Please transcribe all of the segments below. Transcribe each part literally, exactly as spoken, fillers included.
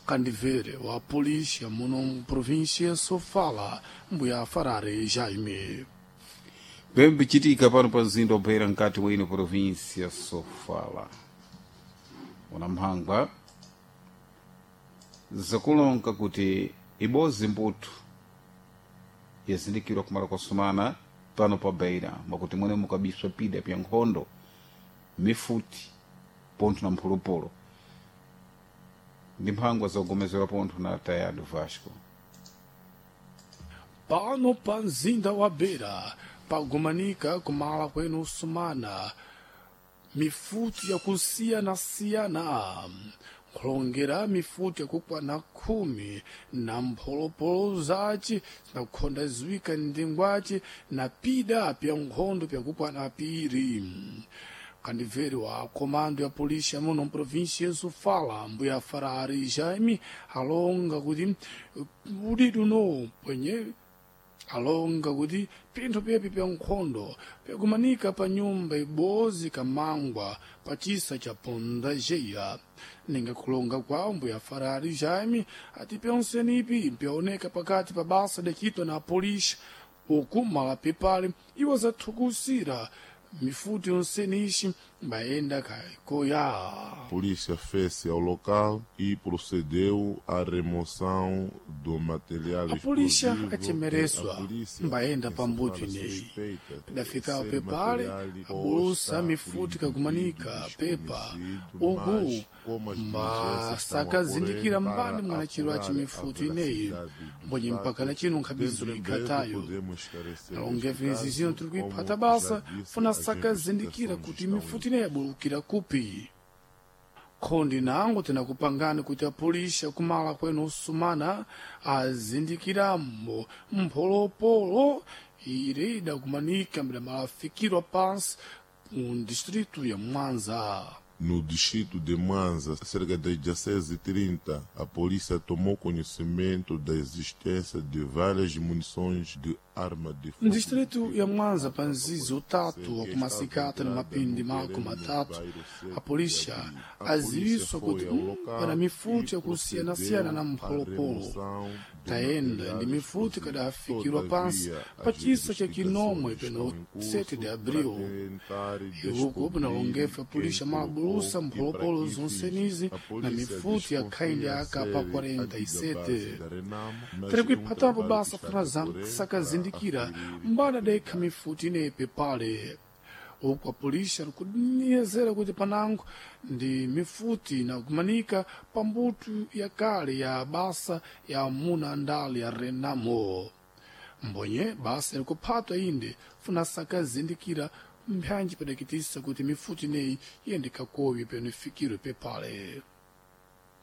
Kandivere wa polícia muno província Sofala mbuya Farare Jaime. Bembichitika pano pa mzinda wa Beira mkati mwa ino província Sofala. Unamphangwa zakulonga kuti ibozi mbuthu yazindikirwa kumala kwasumana pano pa Beira mwakuti mwene mukabiswa pida pya nkhondo mifuti pontho na mphulupulu ndi mphangwa zogomezera pontho na Tayado Vasco. Pano pa mzinda wa Beira pagumanika kumala kwenu sumana mifuti yakusiyana-siyana nkhulongera mifuti yakukwana khumi na mpholopolo zace zinakukhonda ziwika ndingwace na pida pya nkhondo pyakukwana piri. Kandivere wa komando ya polícia muno província Sofala mbuya Farari Jaime alonga kuti udidu no pwenye alonga kuti pinthu pepi pya nkhondo pyakumanika pa nyumba ibozi kamangwa pa chisa cha pondajeya. Ninga kulonga kwawo mbuya Farari Jaime ati pyonsenipi pyaoneka pakati pa basa dakitwa na polícia uku malapi pale iwo zathukusira mifuti yonsenishi mbayenda kaikoya. Polícia fez-se ao local e procedeu à remoção do material A polícia explosivo. achemereswa A polícia mbayenda pa mbuto encontrada ineyi suspeita de pidafikawo ser pepale material ou abulusa está mifuti por kakumanika indivíduo pepa desconhecido, uku mas como as diligências estão a mbasakazindikira correr mbani para mwanachilo aci apurar a mifuti ineyi veracidade dos mbonye mpaka fatos, na chino nkhabizo dentro em breve ikhatayo podemos esclarecer alonge este vinzi zino caso, tiri como kuiphata já basa disse, funa as sakazindikira investigações kuti estão em mifuti ineyi yabulukira kupi. Khondi nango tinakupangani kuti apolisa kumala kwenu usumana azindikiramo mpholopolo ire idakumanika mbidamalafikirwa pansi mu distrito ya Mwanza. No distrito de Mwanza, cerca das dezesseis e trinta, a polícia tomou conhecimento da existência de várias munições de arma de fogo. No distrito ya Mwanza pa nzizi utatu wa kumasikata na mapindi mako matatu a polícia aziwiswa kuti mm, pana mifuti yakusiyanasiyana na mpholopolo tayenda ndi mifuti kadafikirwa pansi pa chisa cha Kinomwe peno sete de abril. Iuku pinalongefa polícia malabulusa mpholopolo zonsenizi na mifuti ya khaindi ya A K quarenta e sete. Tiri kuiphatapo basa funa sakazindikira mbada adaikha mifuti ineyi pepale uku apolisi alikudiniyezera kuti panango ndi mifuti inakumanika pa mbuto ya kale ya basa ya amuna andale ya Renamo. Mbonye basa ilikuphatwa inde funa sakazindikira mphanji padakitisa kuti mifuti ineyi iyende kakowi peno ifikirwe pepale.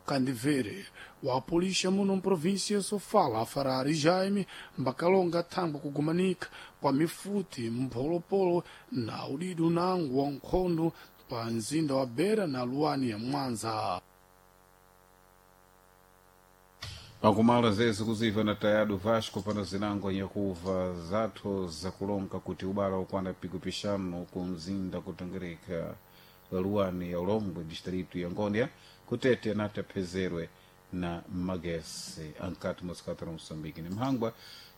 Kandivere wa polícia muno província Sofala Farari Jaime mbakalonga thangwa kugumanika kwa mifuti mpholopolo na udidu nango wa nkhondo pa mzinda wa Beira na luwani ya Mwanza. Pakumala zezi kuziva na Tayado Vasco pano zinango nyakuva zathu zakulonga kuti ubala ukwana piku pixanu ku mzinda kutengereka luwani ya Ulongwe distrito ya Ngônia kutete anati aphezerwe na magesi ankati mosikata la Moçambique ni mphangwa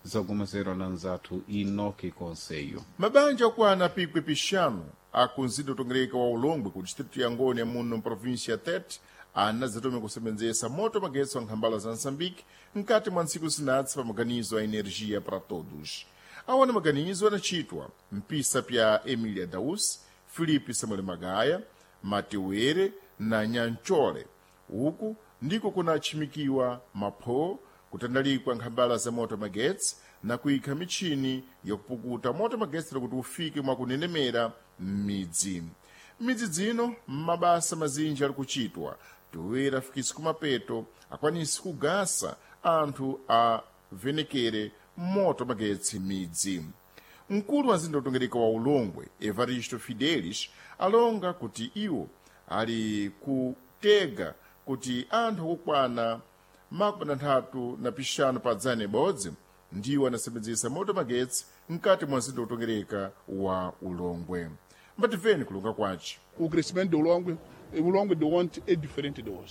zagomezerwa na nzathu Inoki Conselho. Mabanja okwana pikwi pixanu akunzinda utongereka wa Ulongwe ku distrito ya Ngônia muno mprovíncia ya Tete anadzatome kusebenzesa moto magetsi wa nkhambala za Moçambique mkati mwa ntsiku zinatsi pa maganizo a energia para todos. Awana maganizo anachitwa mpisa pya Emília Daus, Filipe Samuel Magaya, Matewere na Nyanchole. Uku ndiko kunachimikiwa mapho kutandalikwa nkhambala za moto magetsi na kuyikha michini yakupukuta moto magetsi kuti ufike mwakunenemera m'midzi. M'midzi dzino mabasa mazinji ali kuchitwa toera afikisi kumapeto akwanisi kugasa anthu avenekere moto magetsi m'midzi. Mkulu wa mzinda utongereka wa Ulongwe Evaristo Fidelis alonga kuti iwo ali kutega kuti anthu akukwana makumi anthatu na pixanu pa dzana ibodzi ndiwo anasebenzesa moto magetsi mkati mwa mzinda utongereka wa Ulongwe. Mbatimveni kulonga kwace. O crescimento do Ulongwe, o Ulongwe de ontem é diferente de hoje.